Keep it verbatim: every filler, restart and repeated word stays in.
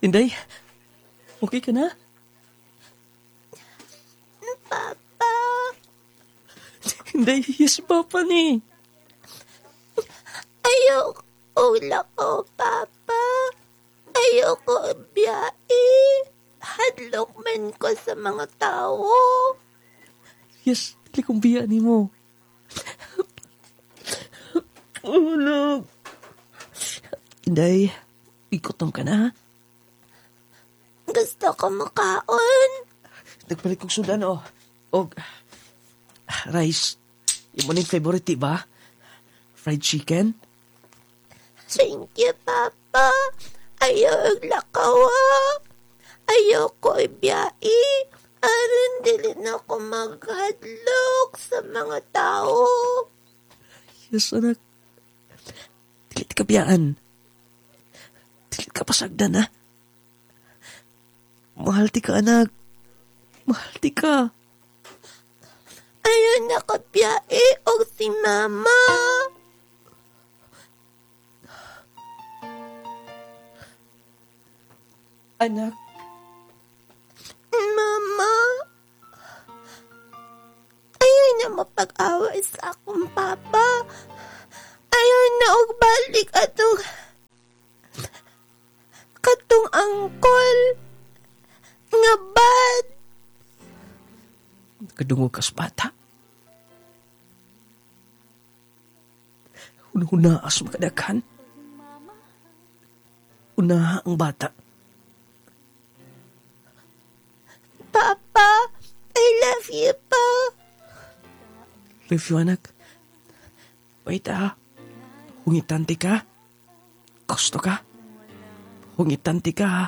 Inday, okay ka na? Papa. Inday, yes, Papa ni. Ayoko lakaw, Papa. Ayoko biyahe. Hadlok man ko sa mga tao. Yes, dili kong biya ni mo. Oh, no. Inday, ikutom ka na, ha? Gusto ko makaon. Nagpalit kong sudan, oh. Og, rice. Imo ning favorite, di ba? Fried chicken? Thank you, Papa. Ayaw lakaw, ha? Ayoko ibiyahe. Aron dili na ko maghadlok sa mga tao. Yes, anak. Dili ka biyaan. Dili ka pasagdan, ha? Mahal ti ka, anak. Mahal ti ka. Ayaw na ka biyahe og si Mama. Anak. Mama. Ayaw na mapag-away sa akong papa. Ayaw na og balik atong katong angkol nga bad. Kadungog kas bata. Una-una as makadaghan. Una ang bata. Papa, I love you pa. Love you, anak. Wait, ah. Hungitante ka. Gusto ka. Hungitante ka, ha.